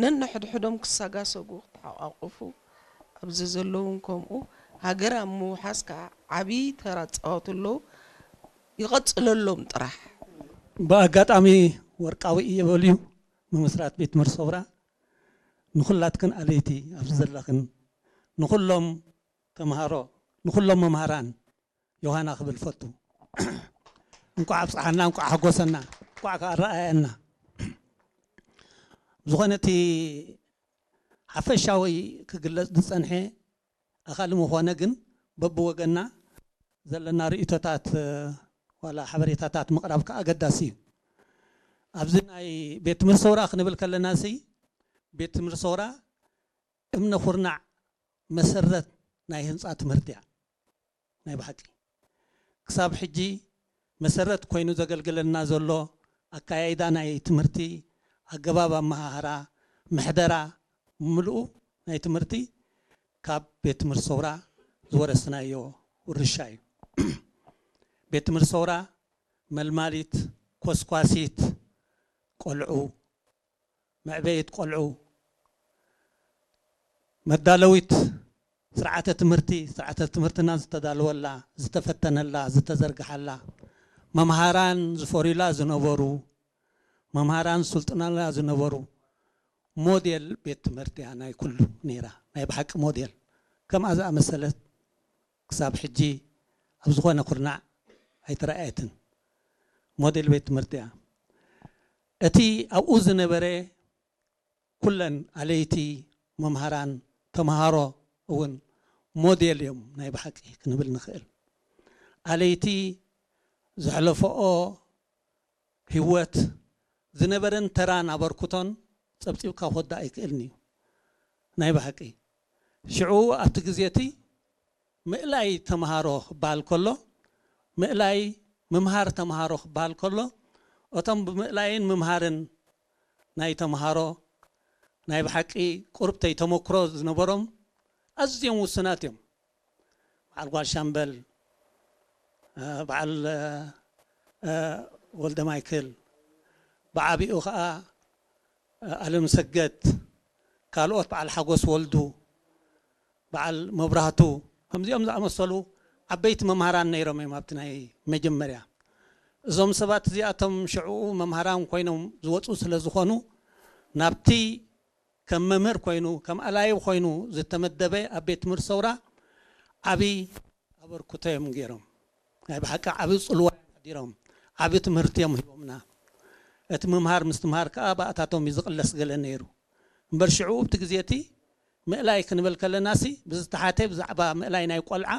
ነንሕድሕዶም ክሰጋሰጉ፣ ክተሓቋቁፉ፣ ኣብዚ ዘለውን ከምኡ፣ ሃገር ኣብ ምውሓስ ከዓ ዓብዪ ተራ ዝፃወቱ ኣለዉ። ይቐፅለሎም ጥራሕ። ብኣጋጣሚ ወርቃዊ እየ በልዩ ምምስራት ቤት ትምህርቲ ሰውራ ንኹላትክን ኣለይቲ ኣብዚ ዘለኽን ንኹሎም ተምሃሮ ንኹሎም መምሃራን ዮሃና ክብል ፈቱ። እንቋዕ ኣብፅሓና፣ እንቋዕ ሓጎሰና፣ እንቋዕ ከኣ ኣረኣየና። ዝኾነ እቲ ሓፈሻዊ ክግለጽ ዝጸንሐ ኣኻሊ ምኾነ ግን በብወገና ዘለና ርእይቶታት ዋላ ሓበሬታታት ምቕራብ ከኣ ኣገዳሲ እዩ። ኣብዚ ናይ ቤት ትምህርቲ ሰውራ ክንብል ከለና ሲ ቤት ትምህርቲ ሰውራ እምነ ኩርናዕ መሰረት ናይ ህንፃ ትምህርቲ እያ። ናይ ብሓቂ ክሳብ ሕጂ መሰረት ኮይኑ ዘገልግለና ዘሎ ኣካያይዳ ናይ ትምህርቲ፣ ኣገባብ ኣመሃህራ፣ ምሕደራ፣ ምልኡ ናይ ትምህርቲ ካብ ቤት ትምህርቲ ሰውራ ዝወረስናዮ ውርሻ እዩ። ቤት ትምህርቲ ሰውራ መልማሊት፣ ኮስኳሲት ቆልዑ፣ መዕበይት ቆልዑ፣ መዳለዊት ስርዓተ ትምህርቲ፣ ስርዓተ ትምህርትና ዝተዳለወላ፣ ዝተፈተነላ፣ ዝተዘርግሓላ፣ መምሃራን ዝፈርዩላ ዝነበሩ፣ መምሃራን ዝስልጥናላ ዝነበሩ ሞዴል ቤት ትምህርቲ እያ ናይ ኩሉ ነይራ። ናይ ብሓቂ ሞዴል ከምኣ ዝኣመሰለት ክሳብ ሕጂ ኣብ ዝኾነ ኩርናዕ ኣይተረኣየትን። ሞዴል ቤት ትምህርቲ እያ። እቲ ኣብኡ ዝነበረ ኩለን ኣለይቲ፣ መምሃራን፣ ተምሃሮ እውን ሞዴል እዮም ናይ ብሓቂ ክንብል ንኽእል። ኣለይቲ ዘሕለፈኦ ህይወት፣ ዝነበረን ተራን ኣበርክቶን ጸብጺብካ ክወዳእ ኣይክእልን እዩ። ናይ ብሓቂ ሽዑ ኣብቲ ግዜ እቲ ምእላይ ተምሃሮ ክበሃል ከሎ፣ ምእላይ ምምሃር ተምሃሮ ክበሃል ከሎ፣ እቶም ብምእላይን ምምሃርን ናይ ተምሃሮ ናይ ብሓቂ ቁርብተይ ተመክሮ ዝነበሮም ኣዝዮም ውሱናት እዮም። በዓል ጓል ሻምበል፣ እ፣ በዓል፣ እ፣ እ፣ ወልደ ማይክል፣ ብዓቢኡ ኸኣ፣ እ፣ ኣለም ሰገድ፣ ካልኦት በዓል ሓጎስ ወልዱ፣ በዓል መብራህቱ፣ ከምዚኦም ዝኣመሰሉ ዓበይቲ መምሃራን ነይሮም እዮም ኣብቲ ናይ መጀመርያ። እዞም ሰባት እዚኣቶም ሽዕኡ መምሃራን ኮይኖም ዝወፁ ስለ ዝኾኑ ናብቲ ከም መምህር ኮይኑ፣ ከም ኣላይብ ኮይኑ ዝተመደበ ኣብ ቤት ትምህርቲ ሰውራ ዓቢ ኣበርክቶ እዮም ገይሮም። ናይ ብሓቂ ዓቢ ጽልዋ እዮም ሓዲሮም። ዓቢ ትምህርቲ እዮም ሂቦምና። እቲ ምምሃር ምስትምሃር ከኣ ብኣታቶም እዩ ዝቕለስ ገለ ነይሩ። እምበር ሽዑ ኣብቲ ግዜ እቲ ምእላይ ክንብል ከለናሲ ብዝተሓተ ብዛዕባ ምእላይ ናይ ቆልዓ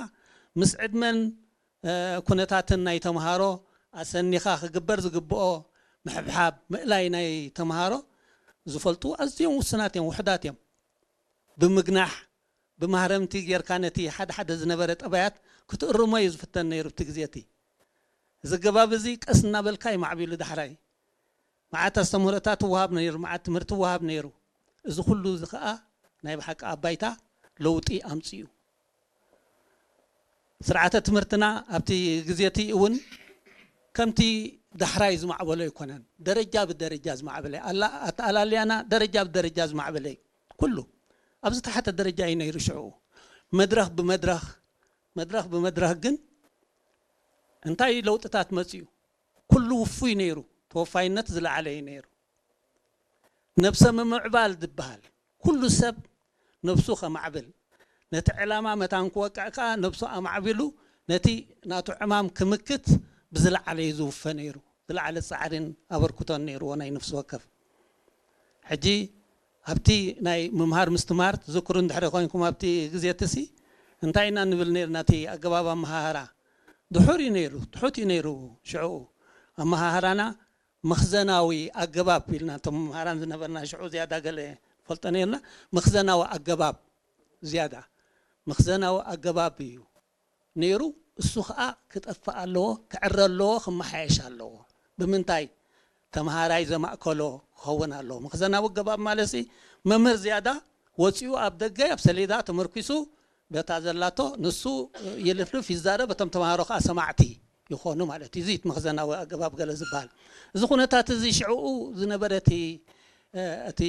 ምስ ዕድመን እ፣ ኩነታትን ናይ ተምሃሮ ኣሰኒኻ ክግበር ዝግብኦ ምሕብሓብ፣ ምእላይ ናይ ተምሃሮ ዝፈልጡ ኣዝዮም ውሱናት እዮም፣ ውሑዳት እዮም። ብምግናሕ፣ ብማህረምቲ ጌርካ ነቲ ሓደ ሓደ ዝነበረ ጠባያት ክትእርሞ እዩ ዝፍተን ነይሩ ኣብቲ ግዜ እቲ። እዚ ኣገባብ እዚ ቀስ እናበልካ እዩ ማዕቢሉ ዳሕራይ። መዓት ኣስተምህሮታት ይወሃብ ነይሩ፣ መዓት ትምህርቲ ይወሃብ ነይሩ። እዚ ኩሉ እዚ ኸኣ ናይ ብሓቂ ኣብ ባይታ ለውጢ ኣምጺኡ። ስርዓተ ትምህርትና ኣብቲ ግዜ እቲ እውን ከምቲ ዳሕራይ ዝማዕበሎ ኣይኮነን። ደረጃ ብደረጃ ዝማዕበለ፣ ኣላ-፣ ኣተኣላልያና ደረጃ ብደረጃ ዝማዕበለ እዩ። ኩሉ ኣብ ዝተሓተ ደረጃ እዩ ነይሩ ሽዑ። መድረኽ ብመድረኽ፣ መድረኽ ብመድረኽ ግን እንታይ ለውጥታት መጺኡ? ኩሉ ውፉይ ነይሩ። ተወፋይነት ዝለዓለ እዩ ነይሩ። ነብሰ ምምዕባል ዝበሃል፣ ኩሉ ሰብ ነብሱ ከማዕብል፣ ነቲ ዕላማ መታን ክወቅዕ ከኣ ነብሱ ኣማዕቢሉ ነቲ ናቱ ዕማም ክምክት ብዝለዓለ እዩ ዝውፈ ነይሩ። ዝለዓለ ጻዕሪን ኣበርክቶን ነይርዎ ናይ ነፍሲ ወከፍ። ሕጂ ኣብቲ ናይ ምምሃር ምስትምሃር ትዝክሩ እንድሕሪ ኮይንኩም ኣብቲ ግዜ እትሲ እንታይ ኢና ንብል ነይርና? እቲ ኣገባብ ኣመሃህራ ድሑር እዩ ነይሩ፣ ትሑት እዩ ነይሩ። ሽዕኡ ኣመሃህራና መኽዘናዊ ኣገባብ ኢልና እቶም መምሃራን ዝነበርና ሽዑ ዝያዳ ገለ ፈልጦ ነይርና። መኽዘናዊ ኣገባብ ዝያዳ መኽዘናዊ ኣገባብ እዩ ነይሩ። እሱ ኸኣ ክጠፍእ ኣለዎ፣ ክዕረ ኣለዎ፣ ክመሓየሽ ኣለዎ። ብምንታይ? ተምሃራይ ዘማእከሎ ክኸውን ኣለዎ። መኽዘናዊ ኣገባብ ማለት ሲ መምህር ዝያዳ ወጺኡ ኣብ ደገ ኣብ ሰሌዳ ተመርኪሱ በታ ዘላቶ ንሱ ይልፍልፍ ይዛረብ፣ እቶም ተምሃሮ ኸኣ ሰማዕቲ ይኾኑ ማለት እዩ። እዚ እቲ መኽዘናዊ ኣገባብ ገለ ዝበሃል። እዚ ኩነታት እዚ ሽዕኡ ዝነበረ እቲ፣ እ፣ እቲ